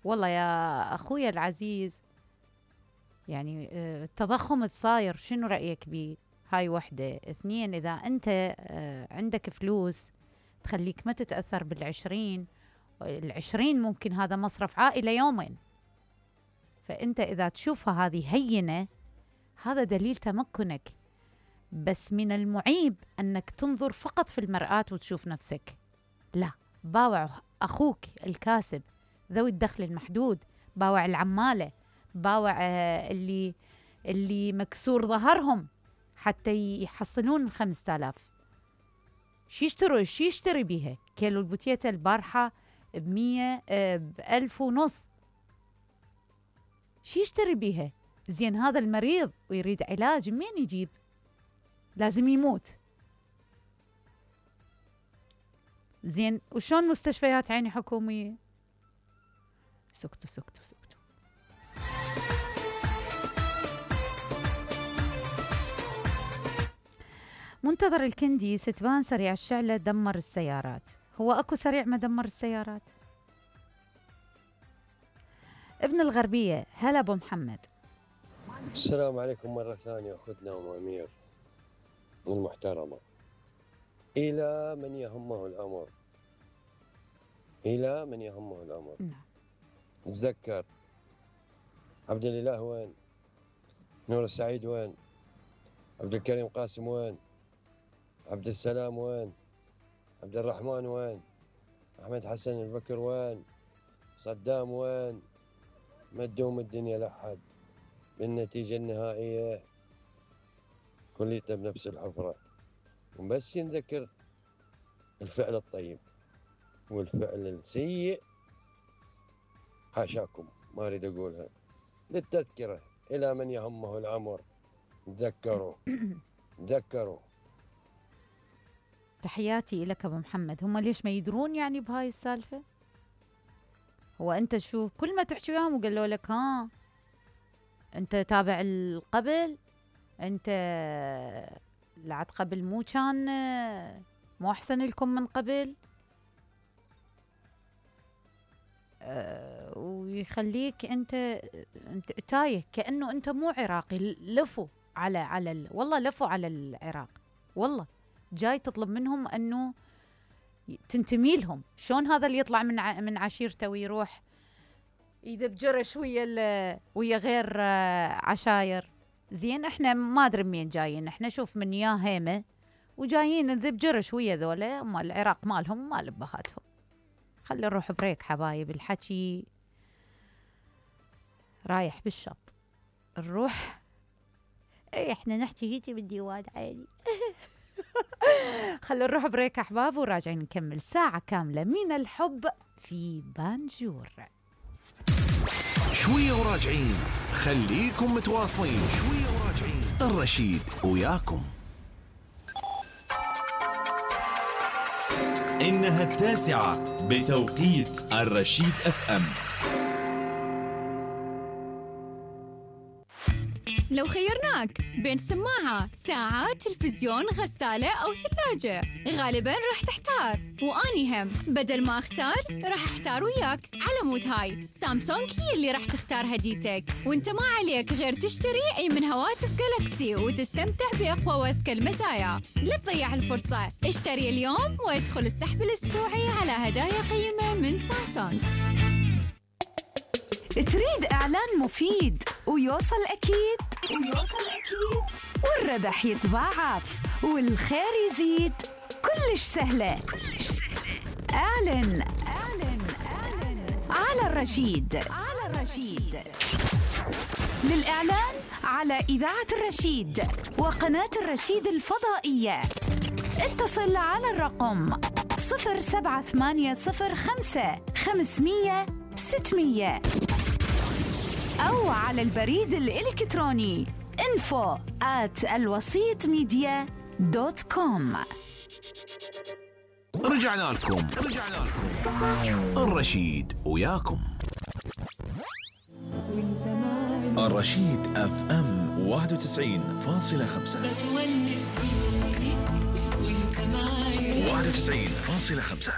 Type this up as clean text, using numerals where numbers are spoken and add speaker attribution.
Speaker 1: والله يا أخويا العزيز، يعني التضخم الصاير شنو رأيك بيه؟ هاي وحدة. اثنين، إذا أنت عندك فلوس تخليك ما تتأثر العشرين ممكن هذا مصرف عائلة يومين. فأنت إذا تشوفها هذه هينة، هذا دليل تمكنك. بس من المعيب أنك تنظر فقط في المرآة وتشوف نفسك. لا، باوع أخوك الكاسب، ذوي الدخل المحدود، باوع العمالة، باوع اللي مكسور ظهرهم حتى يحصلون 5000. شي يشتري بيها؟ كيلو البوتيتا البارحة ب100 ب1500. شي يشتري بيها؟ زين هذا المريض ويريد علاج منين يجيب؟ لازم يموت. زين وشون مستشفيات عيني حكومية؟ سكتوا. منتظر الكندي، ستبان سريع الشعلة دمر السيارات. هو أكو سريع ما دمر السيارات؟ ابن الغربية، هلا أبو محمد.
Speaker 2: السلام عليكم مرة ثانية أخذنا أم أمير المحترمة. إلى من يهمه الأمر، إلى من يهمه الأمر. تذكر عبد الإله وين؟ نور السعيد وين؟ عبد الكريم قاسم وين؟ عبد السلام وين؟ عبد الرحمن وين؟ أحمد حسن البكر وين؟ صدام وين؟ ما تدوم الدنيا لحد. بالنتيجة النهائية كليته بنفس الحفرة. بس نذكر الفعل الطيب والفعل السيء حاشاكم ما أريد أقولها. للتذكرة إلى من يهمه الأمر، تذكروا.
Speaker 1: تحياتي لك أبو محمد. هم ليش ما يدرون يعني بهاي السالفة؟ هو أنت شوف كل ما تحكي وياهم وقالوا لك ها أنت تابع القبل، أنت لعد قبل مو أحسن لكم من قبل. ويخليك أنت تايه كأنه أنت مو عراقي. لفوا والله لفوا على العراق. والله جاي تطلب منهم أنه تنتمي لهم. شون هذا اللي يطلع من عشيرته ويروح يذب جرش ويا غير عشاير؟ زين احنا ما ادري منين جايين. احنا شوف من يا هيمه وجايين نذب جرش ويا ذولا مال العراق مالهم ومال بهاتهم. خلي نروح بريك حبايب، الحكي رايح بالشط. نروح احنا نحكي هيجي بالديوان عادي. خلي نروح بريك احباب وراجعين نكمل ساعة كاملة من الحب في بانجور.
Speaker 3: شوية وراجعين، خليكم متواصلين. شوية وراجعين، الرشيد وياكم.
Speaker 4: إنها 9 بتوقيت الرشيد FM.
Speaker 5: لو خيرناك بين سماعة، ساعة، تلفزيون، غسالة أو ثلاجة، غالباً راح تحتار. وأني هم بدل ما أختار راح أحتار وياك. على مود هاي سامسونج هي اللي راح تختار هديتك، وانت ما عليك غير تشتري أي من هواتف جالكسي وتستمتع بأقوى وأذكى المزايا. لا تضيع الفرصة، اشتري اليوم وادخل السحب الأسبوعي على هدايا قيمة من سامسونج.
Speaker 6: تريد إعلان مفيد ويوصل أكيد والربح يتضاعف والخير يزيد؟ كلش سهلة. اعلن على الرشيد. للإعلان على إذاعة الرشيد وقناة الرشيد الفضائية اتصل على الرقم 07805 أو على البريد الإلكتروني info@alwasitmedia.com.
Speaker 3: رجعنا لكم الرشيد وياكم. الرشيد FM 91.5 91.5.